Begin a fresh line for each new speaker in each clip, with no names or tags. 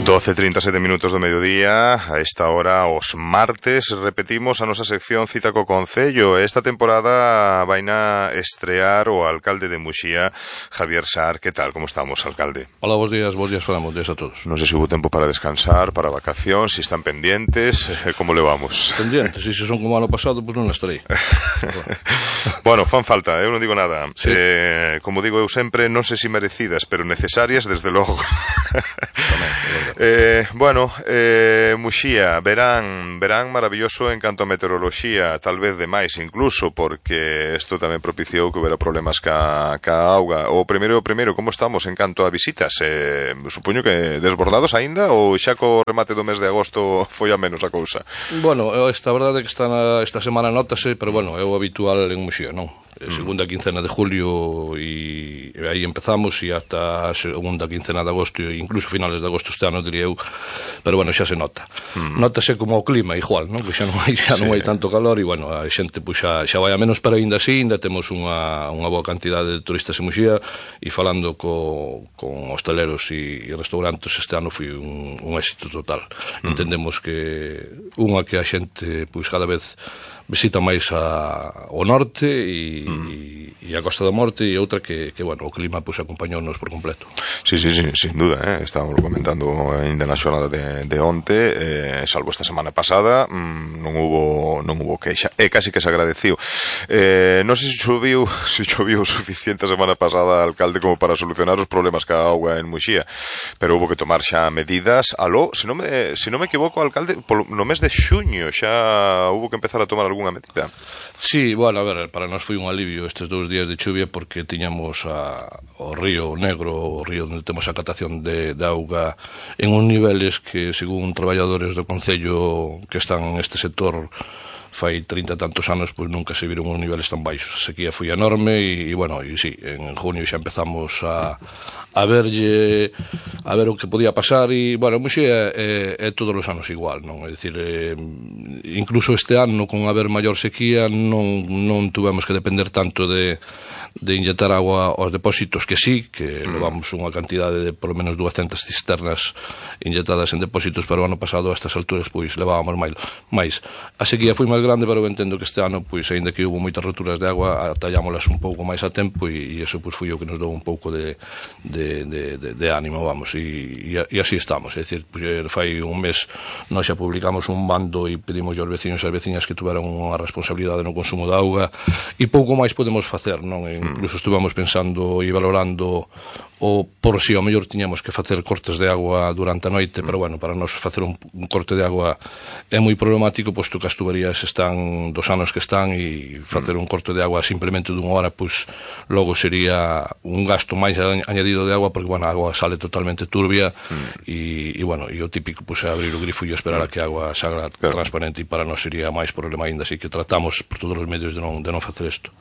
12:37 minutos do mediodía. A esta hora, os martes, repetimos a nosa sección Cita co Concello. Esta temporada vaina estrear o alcalde de Muxía, Javier Sar. Que tal? Como estamos, alcalde?
Hola, bons días falamos a todos.
Non sei se hubo tempo para descansar, para vacación, si están pendientes, como le vamos?
Pendientes, e se son como ano pasado, pois non estarei.
Bueno, fan falta, eu non digo nada.
Sí.
Como digo eu sempre, non sei se merecidas, pero necesarias, desde logo. Muxía, verán maravilloso en canto a meteoroloxía, tal vez demais incluso, porque isto tamén propiciou que houbera problemas ca auga. O primeiro, como estamos en canto a visitas? Supoño que desbordados aínda, ou xa co remate do mes de agosto foi a menos a cousa?
Bueno, esta verdade é que esta semana notase, pero bueno, é o habitual en Muxía, non? Segunda quincena de julio e aí empezamos, e ata a segunda quincena de agosto, e incluso finales de agosto este ano, diría eu, pero bueno, xa se nota. Notase como o clima igual, non? Que xa non hai tanto calor, e bueno, a xente pues, xa vai a menos, pero ainda así, ainda temos unha boa cantidade de turistas en Muxía, e falando con hosteleros e restaurantes, este ano foi un éxito total. Entendemos que a xente pues, cada vez visita máis o norte e a Costa da Morte, e outra que bueno, o clima pues, acompañounos por completo.
Sí, sin duda, estábamos comentando ainda na xornada de onte, salvo esta semana pasada, non hubo queixa, e casi que se agradeciu. Non sei se choveu suficiente a semana pasada, alcalde, como para solucionar os problemas ca auga en Muxía, pero hubo que tomar xa medidas. Se non me equivoco, alcalde, no mes de xuño xa hubo que empezar a tomar algunha medida.
Sí, bueno, a ver, para nós foi un alivio estes 2 días de chuvia, porque tiñamos o río Negro, o río onde temos a catación de auga, en un niveles que, según traballadores do Concello que están neste sector fai 30 e tantos anos, pois nunca se viron uns niveles tan baixos. A sequía foi enorme, e bueno, e sí, en junio xa empezamos a ver o que podía pasar, e bueno, Muxía é todos os anos igual, non? É dicir, incluso este ano, con haber maior sequía, non tuvemos que depender tanto de inyectar agua aos depósitos, que sí, que levamos unha cantidade de por lo menos 200 cisternas inyectadas en depósitos, pero o ano pasado a estas alturas pois levábamos máis. A sequía foi máis grande, pero eu entendo que este ano, pois aínda que houve moitas roturas de agua, atallámolas un pouco máis a tempo, e iso pois foi o que nos dou un pouco de ánimo, vamos, e así estamos. É dicir, pois fai un mes nós xa publicamos un bando e pedimos aos veciños e as veciñas que tuveran unha responsabilidade no consumo de auga, e pouco máis podemos facer, non? Incluso estuvamos pensando e valorando o por si ao mellor tiñamos que facer cortes de agua durante a noite, pero bueno, para nós facer un corte de agua é moi problemático, posto que as tuberías están dos anos que están, e facer un corte de agua simplemente dunha hora, pois logo sería un gasto máis añadido de agua, porque bueno, a agua sale totalmente turbia, e bueno, e o típico pois é abrir o grifo e esperar a que a agua salga transparente, e para nós sería máis problema ainda, así que tratamos por todos os medios de non facer isto.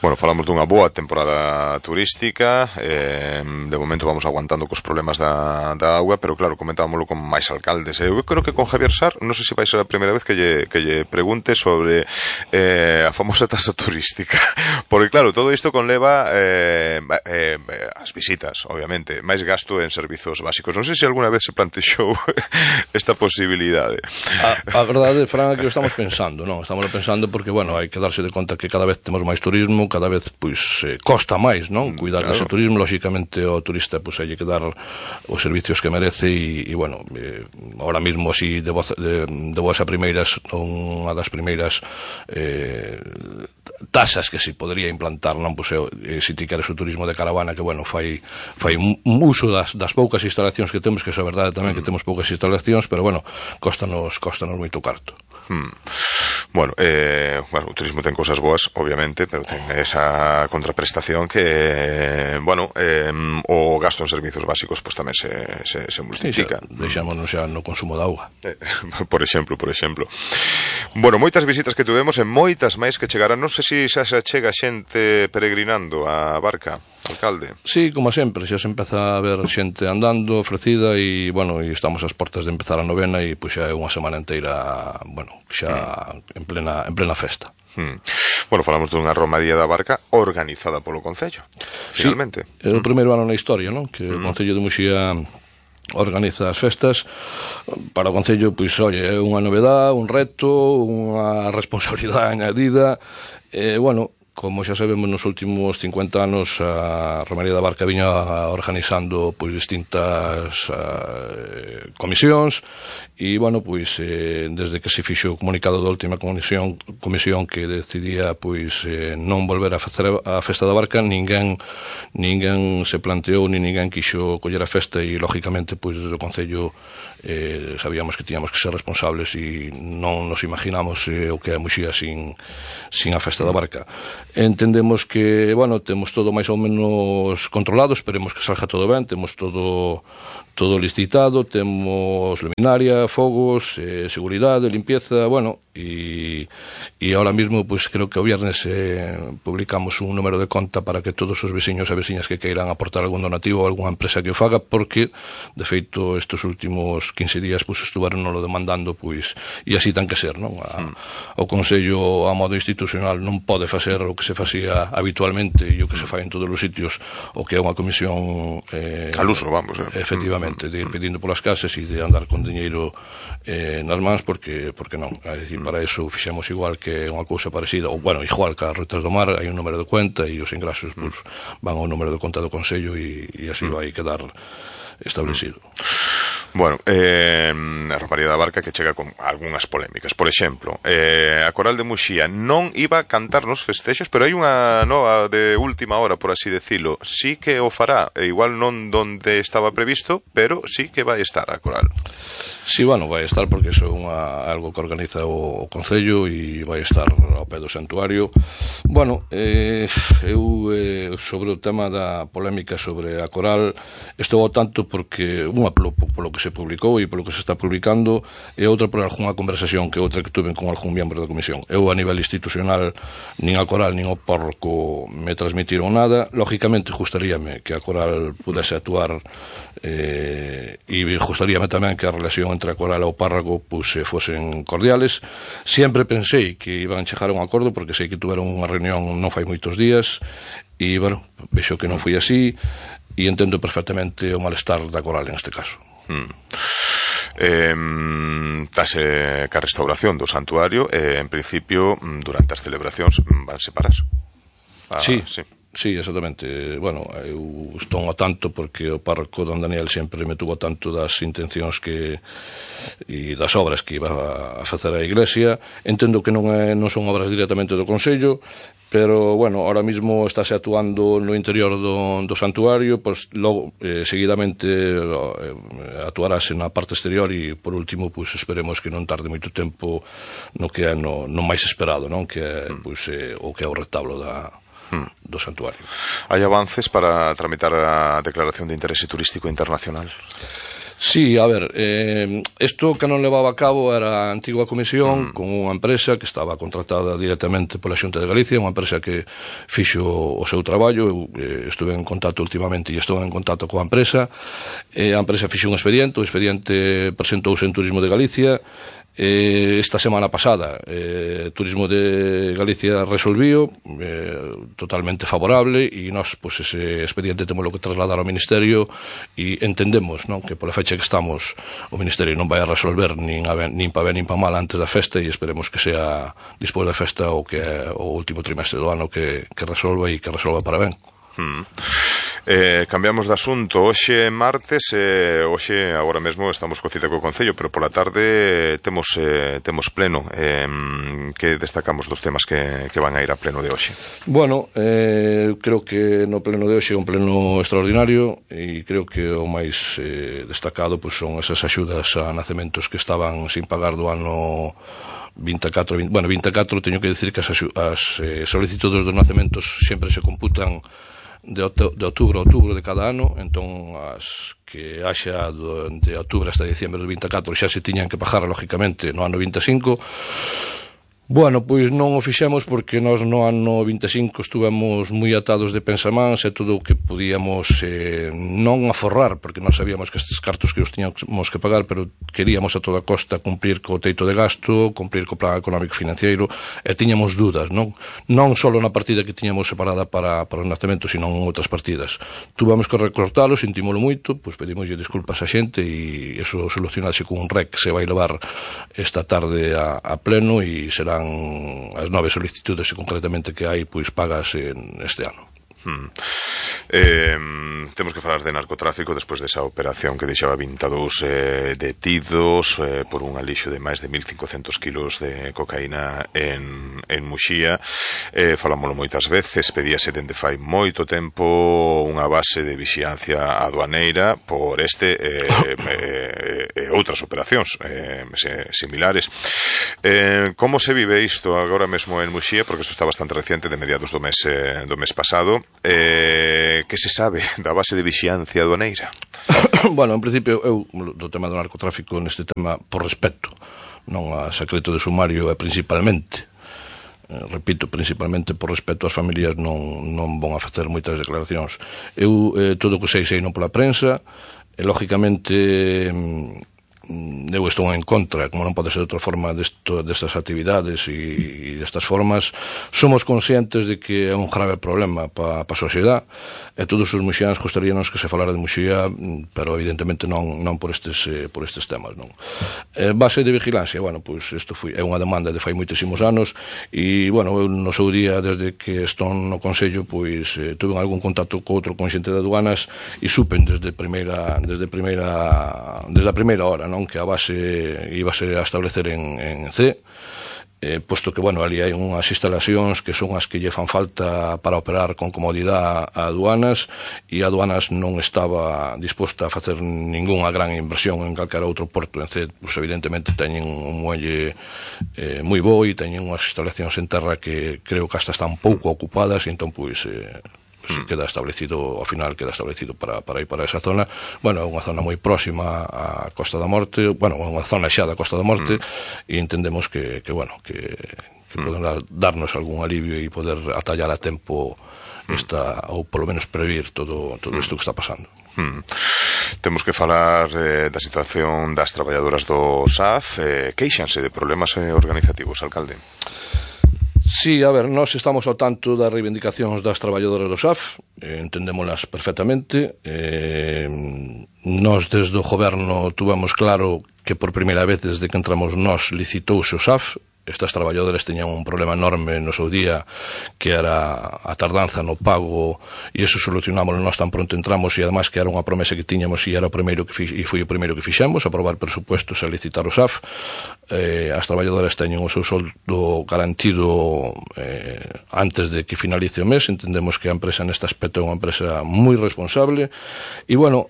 Bueno, falamos dunha boa temporada turística, de momento vamos aguantando cos problemas da auga, pero claro, comentámoslo con máis alcaldes. Eu creo que con Javier Sar, non sei se vai ser a primeira vez que lle pregunte sobre a famosa tasa turística, porque claro, todo isto conleva as visitas, obviamente, máis gasto en servizos básicos. Non sei se alguna vez se plantexou esta posibilidade.
A verdade, Fran, é que o estamos pensando, non? Estamos pensando porque, bueno, hai que darse de conta que cada vez temos máis turismo, cada vez, pois, costa máis, non? Cuidar dese turismo, lóxicamente o turista, pois, hai que dar os servicios que merece, e bueno, ahora mismo así de boas a primeiras, unha das primeiras tasas que se podría implantar, non? Pois, se ti queres o turismo de caravana, que bueno, fai un uso das poucas instalacións que temos, que é a verdade tamén que temos poucas instalacións, pero bueno, costanos moito carto.
Bueno, o turismo ten cosas boas, obviamente, pero ten esa contraprestación que, bueno, o gasto en servizos básicos pues tamén se multiplica.
Sí, deixámonos xa no consumo de auga.
Por exemplo. Bueno, moitas visitas que tuvemos e moitas máis que chegarán. Non sei se xa se chega xente peregrinando a Barca, alcalde.
Sí, como sempre, xa se empeza a ver xente andando, ofrecida, e, bueno, e estamos ás portas de empezar a novena, e pois xa é unha semana inteira, bueno, xa en plena festa.
Bueno, falamos dunha romaría da Barca organizada polo Concello, finalmente.
Sí, é o primeiro ano na historia, non? Que o Concello de Muxía organiza as festas. Para o Concello, pois, oye, é unha novedade, un reto, unha responsabilidade añadida. Bueno, como xa sabemos, nos últimos 50 anos a Romaría da Barca viña organizando pois distintas comisións e, bueno, pois desde que se fixo o comunicado da última comisión que decidía pois non volver a facer a Festa da Barca, ninguén se planteou, nin ninguén quixo coller a festa e, lógicamente, pois desde o Concello sabíamos que tiñamos que ser responsables e non nos imaginamos o que é Muxía sin a Festa da Barca. Entendemos que, bueno, temos todo máis ou menos controlado, esperemos que salga todo ben, temos todo licitado, temos luminaria, fogos, seguridade, limpieza, bueno, e ahora mismo, pues creo que o viernes publicamos un número de conta para que todos os veciños e veciñas que queiran aportar algún donativo ou algunha empresa que o faga, porque de feito estes últimos 15 días pues estuveron lo demandando, pues, e así ten que ser, non? O Consello a modo institucional non pode facer o que se facía habitualmente e o que se fai en todos os sitios, o que é unha comisión
al uso, vamos,
efectivamente, de ir pedindo polas casas e de andar con diñeiro nas mans, porque non, é dicir, para eso fixemos igual que unha cousa parecida, ou, bueno, igual que as Rutas do Mar, hai un número de cuenta e os ingresos pues, van ao número de conta do Consello e así vai quedar establecido.
Bueno, a Romaría da Barca que chega con algunhas polémicas. Por exemplo, a Coral de Muxía non iba a cantar nos festexos, pero hai unha nova de última hora, por así decirlo. Sí que o fará, igual non donde estaba previsto, pero sí que vai estar a Coral.
Sí, bueno, vai estar porque iso é algo que organiza o Concello e vai estar ao pé do santuario. Bueno, eu sobre o tema da polémica sobre a Coral estou ao tanto porque unha polo que se publicou e polo que se está publicando e outra por algunha conversación que outra que tuve con algún membro da comisión. Eu a nivel institucional nin a Coral nin o párroco me transmitiron nada. Lógicamente gustaríame que a Coral pudese actuar e gustaríame tamén que a relación entre a Coral e o párroco pues, fosen cordiales. Sempre pensei que iban a chegar a un acordo porque sei que tuveron unha reunión non fai moitos días e, bueno, vexo que non foi así e entendo perfectamente o malestar da Coral en este caso.
Tase ca restauración do santuario en principio durante as celebracións van separarse.
Sí. Sí, exactamente. Bueno, eu estou ao tanto porque o párroco don Daniel sempre me tuvo tanto das intencións e das obras que iba a facer a iglesia. Entendo que non son obras directamente do Consello, pero, bueno, ahora mismo estáse actuando no interior do santuario, pues logo, seguidamente actuarase na parte exterior e, por último, pues esperemos que non tarde moito tempo no que é no máis esperado, non? Que é, pues, o que é o retablo do santuario.
Hai avances para tramitar a declaración de interese turístico internacional?
Sí, a ver, isto que non levaba a cabo era a antiga comisión con unha empresa que estaba contratada directamente pola Xunta de Galicia, unha empresa que fixo o seu traballo. Eu estuve en contacto últimamente e estou en contacto coa empresa. A empresa fixo un expediente, o expediente presentouse en Turismo de Galicia. Esta semana pasada Turismo de Galicia resolviu totalmente favorable e nós, pues, ese expediente temos que trasladar ao Ministerio e entendemos, non, que pola fecha que estamos o Ministerio non vai a resolver nin pa ben nin pa mal antes da festa e esperemos que sea despois da festa ou que é o último trimestre do ano que resolva e que resolva para ben.
Cambiamos de asunto. Hoxe martes, hoxe agora mesmo estamos co cita co Concello, pero pola tarde temos pleno. Que destacamos dos temas que van a ir a pleno de hoxe?
Bueno, creo que no pleno de hoxe é un pleno extraordinario e creo que o máis destacado pues, son esas axudas a nacementos que estaban sin pagar do ano 24, teño que decir que as solicitudes dos nacementos sempre se computan de outubro a outubro de cada ano, entón as que haxa de outubro hasta diciembre do 24 xa se tiñan que pagar lógicamente no ano 25. Bueno, pois non o fixemos porque nós no ano 25 estuvemos moi atados de pensamáns e todo o que podíamos non aforrar, porque nós sabíamos que estes cartos que os tiñamos que pagar, pero queríamos a toda costa cumprir co teito de gasto, cumprir co plan económico financiero, e tiñamos dúdas, non só na partida que tiñamos separada para os nacementos, sino en outras partidas. Tuvamos que recortalo, sentímolo moito, pois pedimoslle desculpas a xente e eso solucionase con un REC que se vai levar esta tarde a pleno e serán as 9 solicitudes concretamente que hai pois pagas este ano.
Temos que falar de narcotráfico despois desa operación que deixaba 22 detidos por un alixo de máis de 1.500 kilos de cocaína en Muxía. Falámoslo moitas veces, pedíase dende fai moito tempo unha base de vixiancia aduaneira por este e outras operacións similares. Como se vive isto agora mesmo en Muxía? Porque isto está bastante reciente, de mediados do mes pasado. Que se sabe da base de vixiancia aduaneira?
Bueno, en principio, eu do tema do narcotráfico neste tema por respeto, non a secreto de sumario e principalmente, repito, principalmente por respeto ás familias non vou a facer moitas declaracións. Eu todo o que sei non pola prensa, e lógicamente eu estou en contra, como non pode ser de outra forma, destas actividades e destas formas. Somos conscientes de que é un grave problema para a sociedade, e todos os muxianos gostaríanos que se falara de Muxía, pero evidentemente non por estes temas, non. Base de vigilancia, bueno, pois isto é unha demanda de fai moitísimos anos, e, bueno, eu no seu día, desde que estou no Consello, pois tuve algún contacto co outro conxente de aduanas e supen desde a primeira hora, non, que a base íbase a establecer en C, posto que, bueno, ali hai unhas instalacións que son as que lle fan falta para operar con comodidade a aduanas, e a aduanas non estaba disposta a facer ningunha gran inversión en calquera outro porto. En C, pues, evidentemente teñen un muelle moi bo e teñen unhas instalacións en terra que creo que hasta están pouco ocupadas, e entón, pois queda establecido, ao final queda establecido para ir para esa zona. Bueno, é unha zona moi próxima á Costa da Morte, bueno, é unha zona xa da Costa da Morte, e entendemos que poden darnos algún alivio e poder atallar a tempo ou polo menos previr todo isto que está pasando.
Temos que falar da situación das traballadoras do SAF. Queixanse de problemas organizativos, alcalde?
Sí, a ver, nós estamos ao tanto das reivindicacións das traballadoras do SAF, entendémolas perfectamente. Nós desde o goberno tuvamos claro que por primeira vez desde que entramos nós licitouse o SAF. Estas traballadoras teñan un problema enorme no seu día, que era a tardanza no pago, e iso solucionámoslo nós tan pronto entramos, e además que era unha promesa que tiñamos, e era o primeiro e foi o primeiro que fixemos, aprobar presupuestos e licitar o SAF. As traballadoras teñen o seu soldo garantido antes de que finalice o mes. Entendemos que a empresa neste aspecto é unha empresa moi responsable, e, bueno,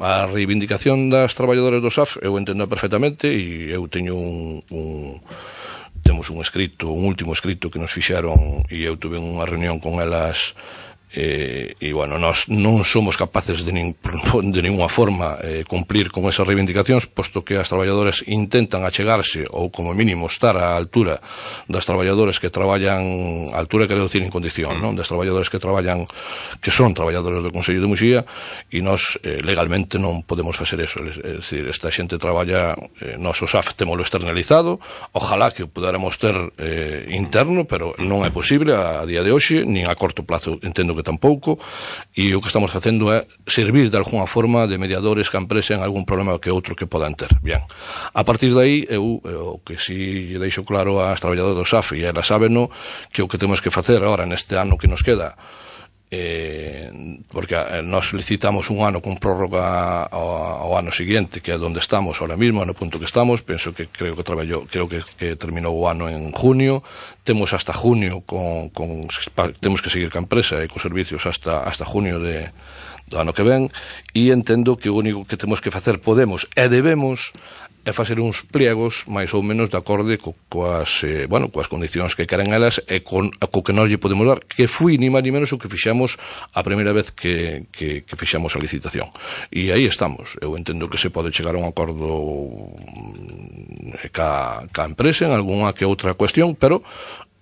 a reivindicación das traballadoras do SAF eu entendo perfectamente, e eu teño temos un último escrito que nos fixeron, e eu tuve unha reunión con elas, e, bueno, nós non somos capaces de ninguna forma cumplir con esas reivindicacións, posto que as traballadoras intentan achegarse, ou como mínimo estar á altura das traballadoras que traballan, a altura quero dicir en condición, non? Das traballadoras que traballan, que son traballadoras do Consello de Muxía, e nós legalmente non podemos facer eso. É dicir, esta xente traballa, nós o SAF temolo externalizado, ojalá que o podáramos ter interno, pero non é posible a día de hoxe, nin a corto plazo entendo que tampouco, e o que estamos facendo é servir de alguna forma de mediadores que a empresa en algún problema que outro que podan ter. Bien, a partir de aí, eu o que si lle deixo claro ás traballadoras do SAF, e elas sábeno, que o que temos que facer agora neste ano que nos queda, porque nós licitamos un ano con prórroga ao ano seguinte, que é onde estamos ahora mismo, no punto que estamos. Penso que creo que terminou o ano en junio, temos hasta junio temos que seguir ca empresa e cos servicios hasta junio do ano que ven, e entendo que o único que temos que facer, podemos e debemos, é facer uns pliegos máis ou menos de acorde coas condicións que queren elas e co que nós lle podemos dar, que foi ni máis ni menos o que fixamos a primeira vez que fixamos a licitación. E aí estamos. Eu entendo que se pode chegar a un acordo ca empresa en algunha que outra cuestión, pero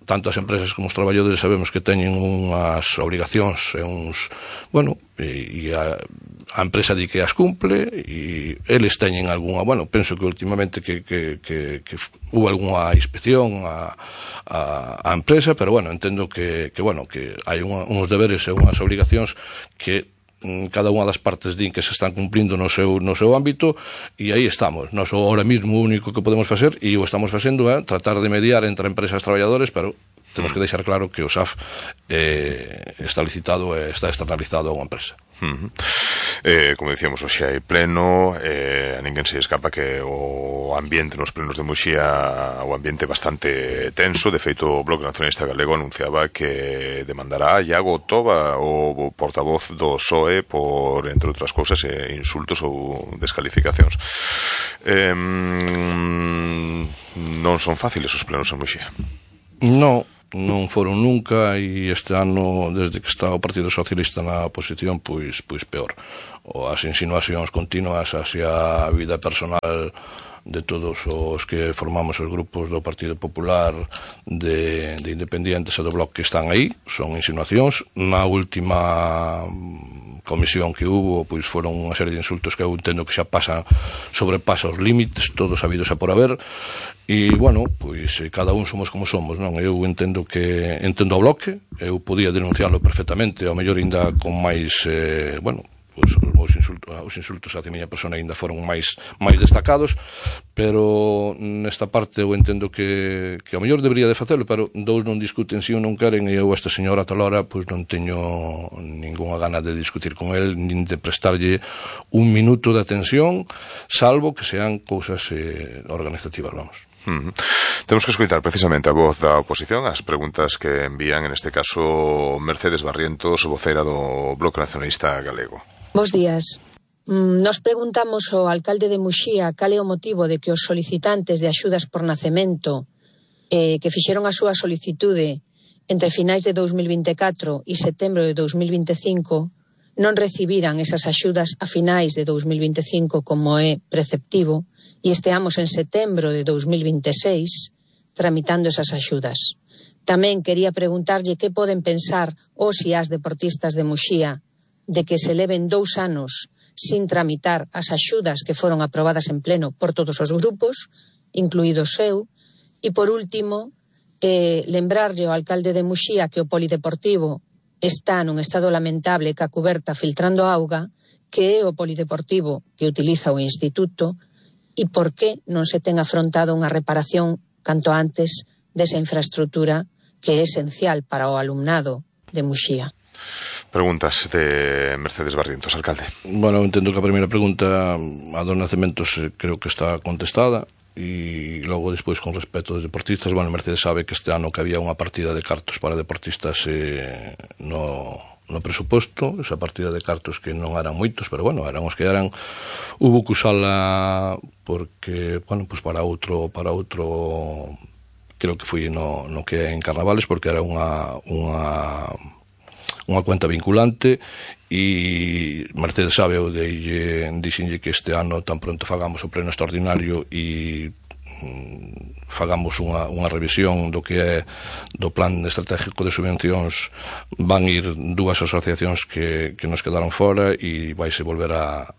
tanto as empresas como os traballadores sabemos que teñen unhas obrigacións e uns, bueno, e a empresa di que as cumple e eles teñen algunha, bueno, penso que últimamente que hubo algunha inspección a empresa, pero bueno, entendo que hai uns deberes e unhas obrigacións que cada unha das partes din que se están cumplindo no seu ámbito e aí estamos. Nós ahora mismo o único que podemos facer e o estamos facendo é tratar de mediar entre empresas e traballadores, pero temos que deixar claro que o SAF está licitado e está externalizado a unha empresa.
Como dicíamos, hoxe hai pleno, a ninguén se escapa que o ambiente nos plenos de Muxía, o ambiente bastante tenso. De feito, o Bloque Nacionalista Galego anunciaba que demandará a Iago Toba, o portavoz do PSOE, por, entre outras cousas, insultos ou descalificacións. Non son fáciles os plenos en Muxía.
Non foron nunca e este ano, desde que está o Partido Socialista na oposición, pois peor. As insinuacións continuas hacia a vida personal de todos os que formamos os grupos do Partido Popular, de independientes e do Bloque que están aí, son insinuacións. Na última comisión que hubo, pois foron unha serie de insultos que eu entendo que xa sobrepasa os límites, todos habidos a por haber. E, bueno, pois cada un somos como somos, non? Eu entendo o Bloque, eu podía denunciarlo perfectamente, ao mellor ainda con máis, pois os insultos hacia a miña persona ainda foron máis destacados, pero nesta parte eu entendo que ao mellor debería de facelo, pero dous non discuten si ou non queren, e eu esta señora talora pois non teño ningunha gana de discutir con el, nin de prestarlle un minuto de atención, salvo que sean cousas organizativas, vamos.
Temos que escoitar precisamente a voz da oposición, as preguntas que envían, en este caso, Mercedes Barrientos, vocera do Bloque Nacionalista Galego.
Bos días. Nos preguntamos ao alcalde de Muxía cal é o motivo de que os solicitantes de axudas por nacemento que fixeron a súa solicitude entre finais de 2024 e setembro de 2025 non recibiran esas axudas a finais de 2025 como é preceptivo, e esteamos en setembro de 2026 tramitando esas axudas. Tamén quería preguntarlle que poden pensar os e as deportistas de Muxía de que se leven 2 anos sin tramitar as axudas que foron aprobadas en pleno por todos os grupos, incluído o seu. E por último, lembrarlle ao alcalde de Muxía que o polideportivo está nun estado lamentable ca cuberta filtrando auga, que é o polideportivo que utiliza o instituto, e por que non se ten afrontado unha reparación canto antes desa infraestructura que é esencial para o alumnado de Muxía.
Preguntas de Mercedes Barrientos, alcalde.
Bueno, entendo que a primeira pregunta a dos nacementos creo que está contestada, e logo despois con respecto aos deportistas, bueno, Mercedes sabe que este ano que había unha partida de cartos para deportistas no presuposto, esa partida de cartos que non eran moitos, pero bueno, eran os que eran. Hubo que usala porque, bueno, pues para outro creo que foi no que é en Carnavales, porque era unha cuenta vinculante, e Mercedes sabe, eu dixenlle que este ano tan pronto fagamos o pleno extraordinario e fagamos unha revisión do que é do plan estratégico de subvencións, van ir 2 asociacións que nos quedaron fora e vaise volver a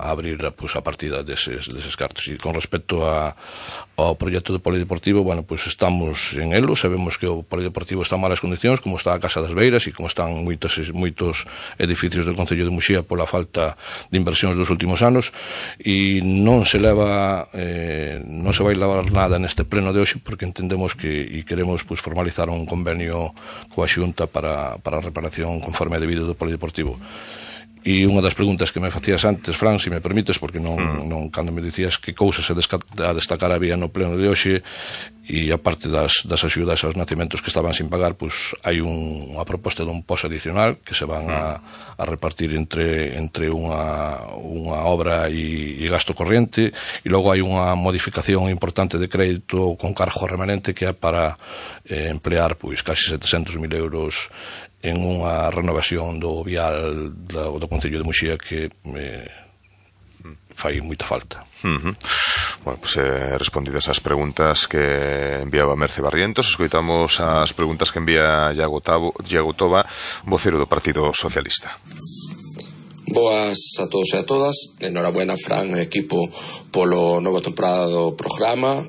abrir a partida deses cartos. E con respecto ao proxecto do polideportivo, bueno, pues estamos en elo, sabemos que o polideportivo está en malas condicións, como está a Casa das Beiras e como están moitos edificios do Concello de Muxía pola falta de inversións dos últimos anos, e non se vai levar nada neste pleno de hoxe, porque entendemos que e queremos formalizar un convenio coa Xunta para a reparación conforme a debido do polideportivo. E unha das preguntas que me facías antes, Fran, se me permites, porque non cando me dicías que cousas a destacar había no pleno de hoxe, e aparte das axudas aos nacementos que estaban sin pagar, pois hai unha proposta dun poso adicional que se van a repartir entre unha obra e gasto corriente, e logo hai unha modificación importante de crédito con cargo remanente que é para emplear pois casi 700.000 euros en unha renovación do vial do Concello de Muxía que fai moita falta.
Bueno, pues respondidas as preguntas que enviaba Merce Barrientos, escoitamos as preguntas que envía Iago Toba, vocero do Partido Socialista.
Boas a todos e a todas. Enhorabuena, Fran e equipo, polo novo temporada do programa.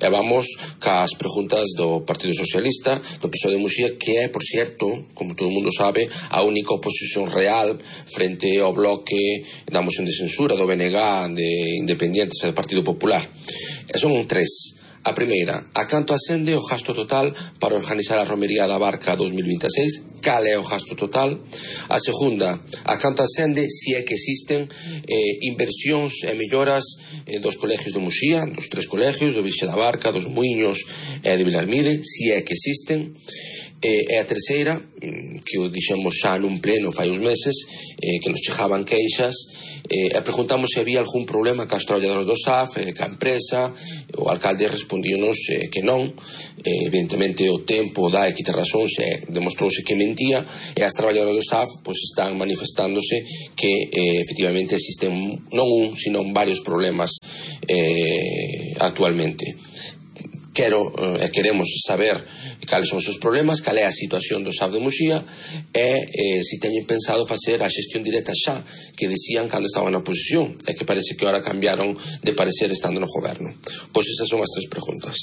E vamos cas preguntas do Partido Socialista do PSOE de Muxía, que é, por certo, como todo o mundo sabe, a única oposición real frente ao bloque da moción de censura do BNG, de Independientes e do Partido Popular. E son tres. A primeira, a canto ascende o gasto total para organizar a romería da Barca 2026? Cal é o gasto total? A segunda, a canto ascende, se é que existen inversións e melloras dos colegios de Muxía, dos tres colegios, do Vixe da Barca, dos Muiños e de Vilarmide, se é que existen. E a terceira, que o dixemos xa nun pleno fai uns meses, que nos chegaban queixas, e preguntamos se había algún problema ca os traballadores do SAF, ca empresa. O alcalde respondíonos que non. Evidentemente o tempo dá e quita razóns, demostrouse que mentía, e as traballadoras do SAF pois están manifestándose que efectivamente existen non un, sino varios problemas actualmente. Queremos saber cales son os seus problemas, cal é a situación do SAF de Muxía e se teñen pensado facer a xestión directa xa, que dicían cando estaban na oposición, e que parece que ahora cambiaron de parecer estando no goberno. Pois esas son as tres preguntas.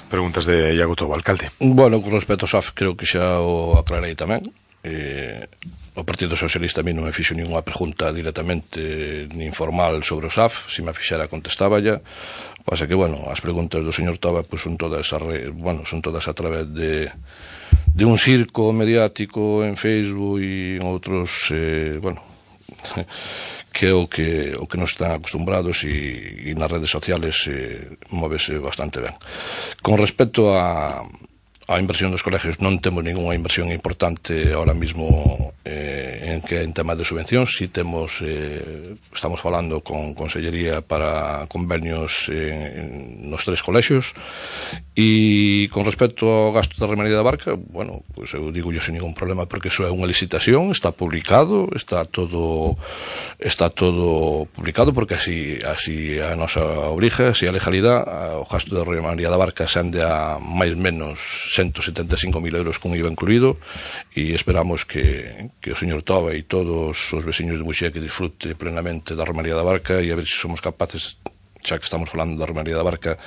Preguntas de Iago Toba, alcalde.
Bueno, con respecto ao SAF, creo que xa o aclarei tamén. O Partido Socialista a mí non me fixo ninguna pregunta directamente nin formal sobre o SAF. Se me fixera contestaba ya. Pasa que, bueno, as preguntas do señor Toba pues, son todas a través de un circo mediático en Facebook e en outros, que é o que nos están acostumbrados e nas redes sociales móvese bastante ben. Con respecto a inversión dos colegios, non temos ninguna inversión importante ahora mismo en tema de subvencións. Si temos, estamos falando con Consellería para convenios nos tres colexios. E con respecto ao gasto da Romería da Barca, bueno, pues eu digo yo sin ningún problema, porque iso é unha licitación, está publicado, está todo publicado, porque así a nosa obriga, así a legalidade. O gasto da Romería da Barca ascende a máis menos 175.000 euros con IVA incluído, e esperamos que o señor Toba e todos os veciños de Muxía que disfrute plenamente da Romería da Barca, e a ver se somos capaces, xa que estamos falando da Romería da Barca,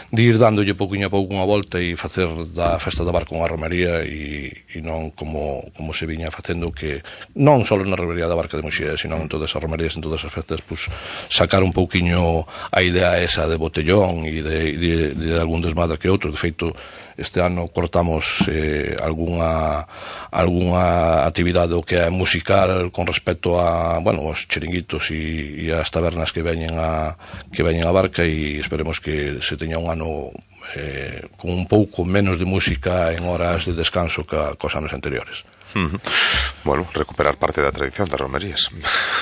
de ir dándolle pouquinho a pouco unha volta e facer da festa da Barca unha romería, e non como se viña facendo, que non só na Romería da Barca de Muxía, sino en todas as romerías, en todas as festas, pues, sacar un pouquiño a idea esa de botellón e de algún desmadre que outro. De feito, este ano cortamos algunha actividade o que é musical con respecto a, bueno, os chiringuitos e as tabernas que veñen a Barca, e esperemos que se teña un ano con un pouco menos de música en horas de descanso que os anos anteriores.
Bueno, recuperar parte da tradición das romerías.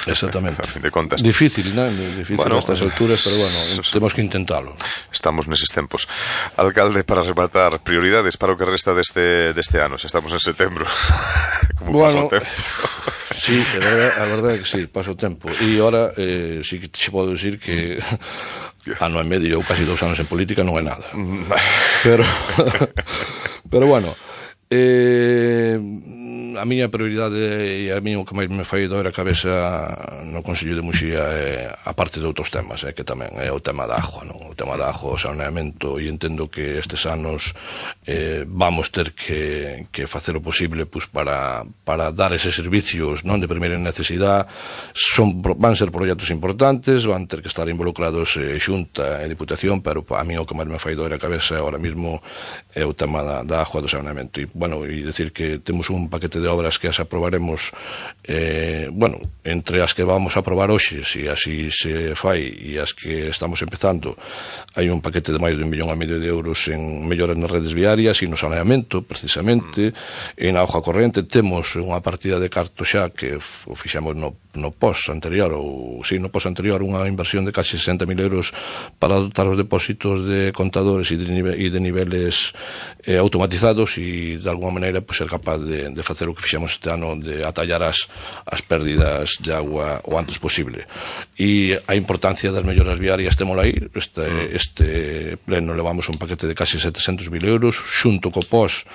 Exactamente.
A fin de contas.
Difícil, ¿no? Difícil a estas alturas, pero bueno, temos que intentalo.
Estamos neses tempos. Alcalde, para rematar, prioridades para o que resta deste ano, xa estamos en setembro. Como pasa o tempo?
Sí, a verdade é que sí, pasa o tempo. E agora sí que te podo decir que ano e medio ou casi 2 anos en política non é nada. Pero bueno, a miña prioridade e a mí o que máis me fai doer a cabeza no Consello de Muxía é, a parte de outros temas, que tamén é o tema da agua, non? O tema da agua, o saneamento, e entendo que estes anos vamos ter que facer o posible pues, para dar eses servicios, non, de primeira necesidade. Van ser proxectos importantes, van ter que estar involucrados Xunta e Diputación, pero a mí o que máis me fai doer a cabeza ahora mismo é o tema da agua, do saneamento. E, bueno, e decir que temos un paquete de obras que as aprobaremos, bueno, entre as que vamos a aprobar hoxe, se así se fai, e as que estamos empezando, hai un paquete de máis de 1,5 millón de euros en melloras nas redes viarias e no saneamento, precisamente, e na auga corrente. Temos unha partida de carto xa que o fixemos no pos anterior, unha inversión de casi 60.000 euros para dotar os depósitos de contadores e de niveles automatizados, e de alguma maneira pues, ser capaz de facer o que fixemos este ano, de atallar as pérdidas de agua o antes posible. E a importancia das melloras viarias témola aí. Este pleno levamos un paquete de casi 700.000 euros, xunto co POS,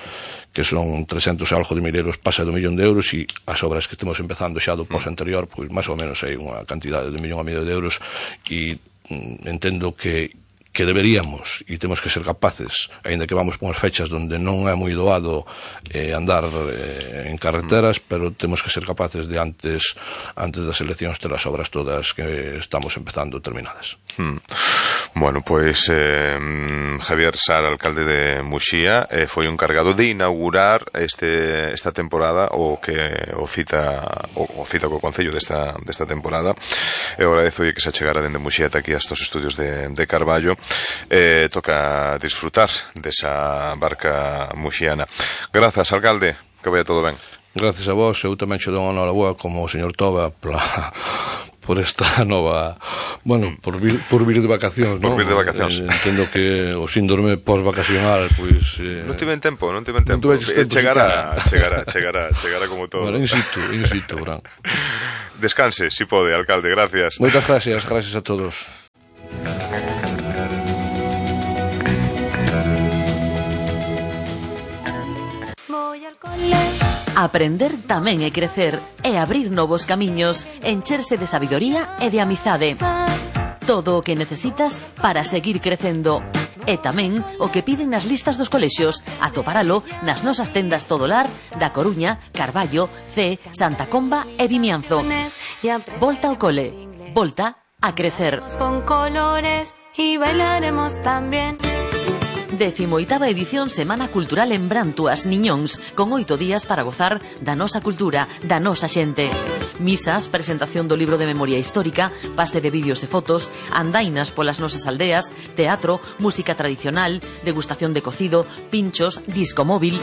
que son 300 e algo de mil euros, pasa do 1.000.000 de euros, e as obras que estamos empezando xa do POS anterior, pois máis ou menos hai unha cantidade de 1.500.000 de euros, e entendo que deberíamos e temos que ser capaces, aínda que vamos por unhas fechas onde non é moi doado andar en carreteras, pero temos que ser capaces de antes das eleccións ter as obras todas que estamos empezando terminadas.
Bueno, pois Javier Sar, alcalde de Muxía, foi o encargado de inaugurar esta temporada, o cita co Concello desta temporada. Eu agradezo que se achegara dende Muxía ata aquí a estos estudios de Carballo. Toca disfrutar desa barca muxiana. Grazas, alcalde, que vaya todo ben.
Gracias a vos, eu tamén che dou unha boa como o señor Toba por esta nova, bueno, por vir de vacacións, non?
Por vir de vacacións.
Entendo que o síndrome post-vacacional, pois...
Non tiven tempo. Chegará como todo.
Bueno, in situ, Bran.
Descanse, si pode, alcalde, gracias.
Moitas gracias a todos.
Aprender tamén é crecer, é abrir novos camiños, encherse de sabidoría e de amizade. Todo o que necesitas para seguir crecendo. E tamén o que piden nas listas dos colexios, atoparalo nas nosas tendas Todolar da Coruña, Carballo, Cee, Santa Comba e Vimianzo. Volta ao cole, volta a crecer.
Con colores y bailaremos también.
18ª edición Semana Cultural en Brantuas, Niñóns, con 8 días para gozar da nosa cultura, da nosa xente. Misas, presentación do libro de memoria histórica, pase de vídeos e fotos, andainas polas nosas aldeas, teatro, música tradicional, degustación de cocido, pinchos, disco móvil.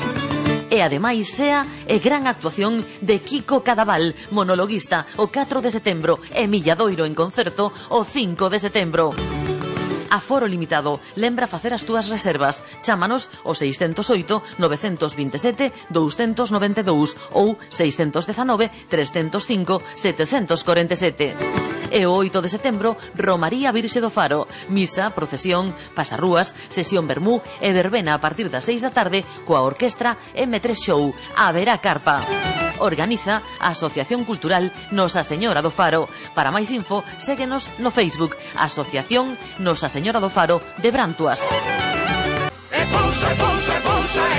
E ademais cea e gran actuación de Kiko Cadaval, monologuista, o 4 de setembro, e Milladoiro en concerto o 5 de setembro. Aforo limitado. Lembra facer as túas reservas. Chámanos ao 608 927 292 ou 619 305 747. E o 8 de setembro, Romaría Virxe do Faro. Misa, procesión, pasarrúas, sesión vermú e verbena a partir das 6 da tarde coa orquestra M3 Show. Haberá carpa. Organiza a Asociación Cultural Nosa Señora do Faro. Para máis info, séguenos no Facebook, Asociación Nosa Señora do Faro de Brantuas.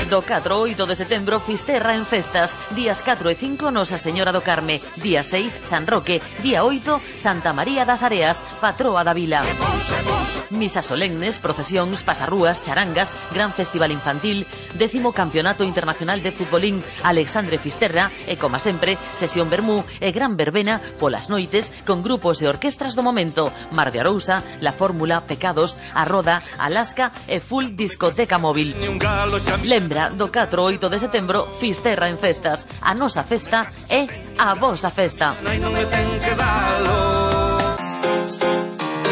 Do 4 ao 8 de setembro, Fisterra en festas. Días 4 e 5, Nosa Señora do Carme. Día 6, San Roque. Día 8, Santa María das Areas, patroa da vila. Misas solemnes, procesións, pasarrúas, charangas, gran festival infantil, 10º Campeonato Internacional de Futbolín Alexandre Fisterra e, como sempre, sesión vermú e gran verbena polas noites con grupos e orquestras do momento. Mar de Arousa, La Fórmula, Pecados, A Roda, Alaska e full discoteca móvil. Lembra, do 4 ao 8 de setembro, Fisterra en festas. A nosa festa é a vosa festa.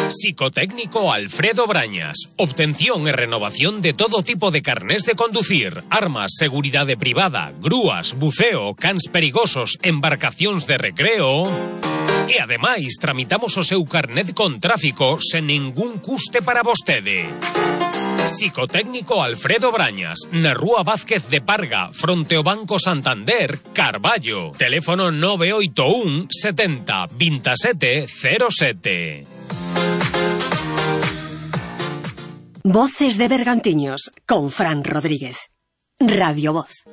Psicotécnico Alfredo Brañas. Obtención e renovación de todo tipo de carnés de conducir, armas, seguridade privada, grúas, buceo, cans perigosos, embarcacións de recreo. E ademais, tramitamos o seu carnet con tráfico sen ningún custe para vostede. Psicotécnico Alfredo Brañas, na Rúa Vázquez de Parga, fronte ao Banco Santander, Carballo. Teléfono 981 70 27 07.
Voces de Bergantiños, con Fran Rodríguez. Radio Voz.